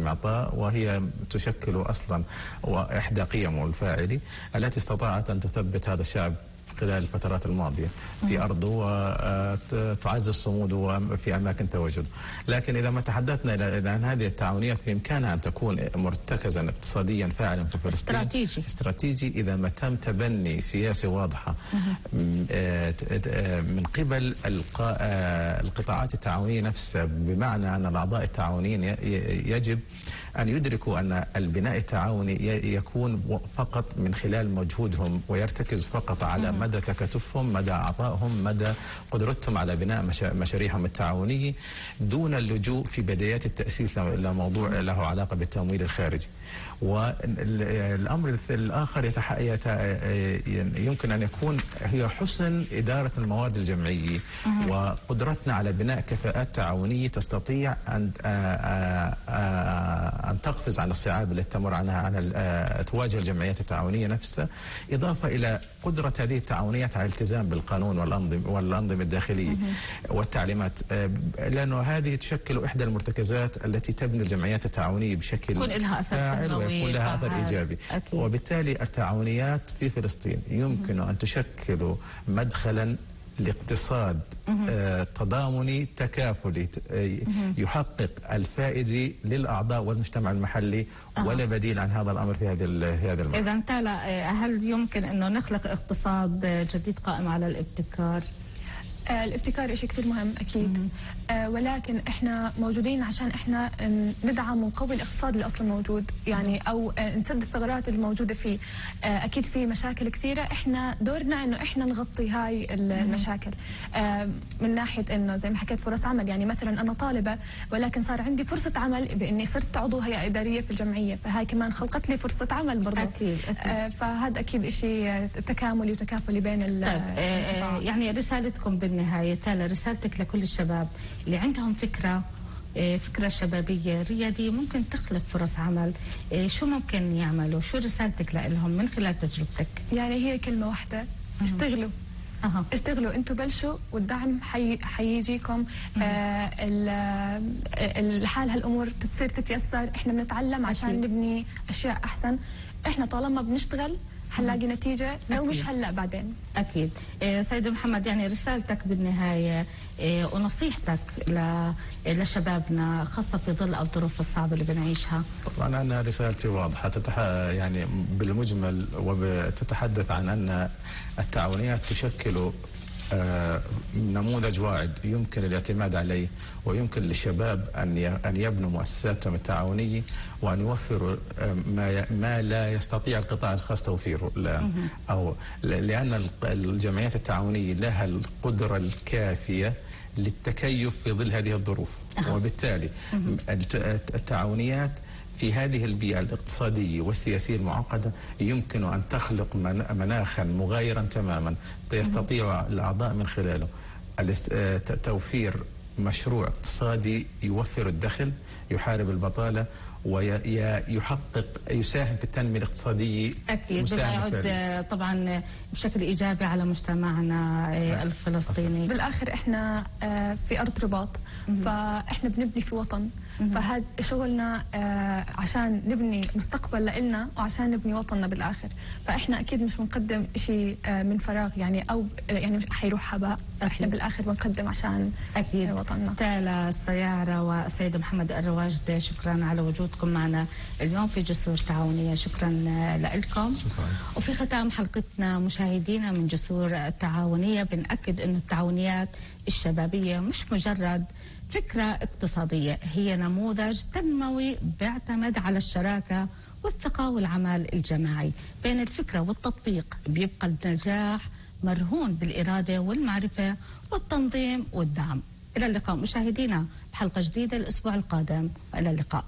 المعطاء، وهي تشكل أصلا إحدى قيمه الفاعلي التي استطاعت أن تثبت هذا الشعب خلال الفترات الماضية في أرضه وتعزز صموده في أماكن تواجده. لكن إذا ما تحدثنا إلى أن هذه التعاونيات بإمكانها أن تكون مرتكزا اقتصاديا فاعلا في فلسطين استراتيجي إذا ما تم تبني سياسة واضحة من قبل القطاعات التعاونية نفسها، بمعنى أن الأعضاء التعاونيين يجب أن يدركوا أن البناء التعاوني يكون فقط من خلال مجهودهم، ويرتكز فقط على مدى تكاتفهم، مدى عطائهم، مدى قدرتهم على بناء مشاريعهم التعاونية، دون اللجوء في بدايات التأسيس لموضوع له علاقة بالتمويل الخارجي. والأمر الآخر يمكن أن يكون هي حسن إدارة الموارد الجمعية وقدرتنا على بناء كفاءات تعاونية تستطيع أن تقفز عن الصعاب التي تمر عنها تواجه الجمعيات التعاونية نفسها، إضافة إلى قدرة هذه التعاونيات على الالتزام بالقانون والأنظمة الداخلية والتعليمات، لأنه هذه تشكل إحدى المرتكزات التي تبني الجمعيات التعاونية بشكل يكون لها أثر ويكون لها أثر إيجابي. أكيد. وبالتالي التعاونيات في فلسطين يمكن أن تشكل مدخلا لاقتصاد تضامني تكافلي يحقق الفائدة للأعضاء والمجتمع المحلي، ولا بديل عن هذا الأمر في هذا المرحلة. إذا تالا، هل يمكن أنه نخلق اقتصاد جديد قائم على الابتكار؟ الابتكار شيء كثير مهم أكيد، ولكن إحنا موجودين عشان إحنا ندعم ونقوي الاقتصاد اللي أصلا موجود، يعني أو نسد الثغرات الموجودة فيه. أكيد في مشاكل كثيرة، إحنا دورنا إنه إحنا نغطي هاي المشاكل من ناحية إنه زي ما حكيت فرص عمل. يعني مثلا أنا طالبة ولكن صار عندي فرصة عمل بإني صرت عضو هيئة إدارية في الجمعية، فهاي كمان خلقت لي فرصة عمل برضه. أكيد. فهذا أكيد شيء تكاملي وتكافلي بين القطاعات. يعني رسالتكم بالنهاية تالا، رسالتك لكل الشباب اللي عندهم فكرة شبابية ريادية ممكن تخلق فرص عمل، شو ممكن يعملوا؟ شو رسالتك لهم من خلال تجربتك؟ يعني هي كلمة واحدة، اشتغلوا. اشتغلوا، انتوا بلشوا والدعم حيجيكم. الحال هالامور بتصير تتيسر، احنا بنتعلم عشان نبني اشياء احسن. احنا طالما بنشتغل حنلاقي نتيجة، لو مش هلأ بعدين. أكيد. سيد محمد، يعني رسالتك بالنهاية ونصيحتك لشبابنا خاصة في ظل الظروف الصعبة اللي بنعيشها؟ طبعا أنا رسالتي واضحة، يعني بالمجمل وتتحدث عن أن التعاونيات تشكل نموذج واعد يمكن الاعتماد عليه، ويمكن للشباب أن يبنوا مؤسساتهم التعاونية وأن يوفروا ما لا يستطيع القطاع الخاص توفيره، لأن الجمعيات التعاونية لها القدرة الكافية للتكيف في ظل هذه الظروف. وبالتالي التعاونيات في هذه البيئة الاقتصادية والسياسية المعقدة يمكن أن تخلق مناخا مغايرا تماما يستطيع الأعضاء من خلاله توفير مشروع اقتصادي يوفر الدخل، يحارب البطالة، يساهم في التنمية الاقتصادية. أكيد يعود طبعا بشكل إيجابي على مجتمعنا الفلسطيني. بالآخر إحنا في أرض رباط، فإحنا بنبني في وطن، فهذا شغلنا عشان نبني مستقبل لإلنا وعشان نبني وطننا بالآخر. فإحنا أكيد مش بنقدم شيء من فراغ، يعني أو يعني مش حيروح هباء. إحنا بالآخر بنقدم عشان أكيد وطننا. تالا السيارة والسيد محمد الرواجدة، شكرا على وجودكم معنا اليوم في جسور تعاونية. شكرا لكم. وفي ختام حلقتنا مشاهدينا من جسور التعاونية، بنأكد أن التعاونيات الشبابية مش مجرد فكرة اقتصادية، هي نموذج تنموي بيعتمد على الشراكة والثقة والعمل الجماعي. بين الفكرة والتطبيق بيبقى النجاح مرهون بالإرادة والمعرفة والتنظيم والدعم. إلى اللقاء مشاهدينا بحلقة جديدة الأسبوع القادم، وإلى اللقاء.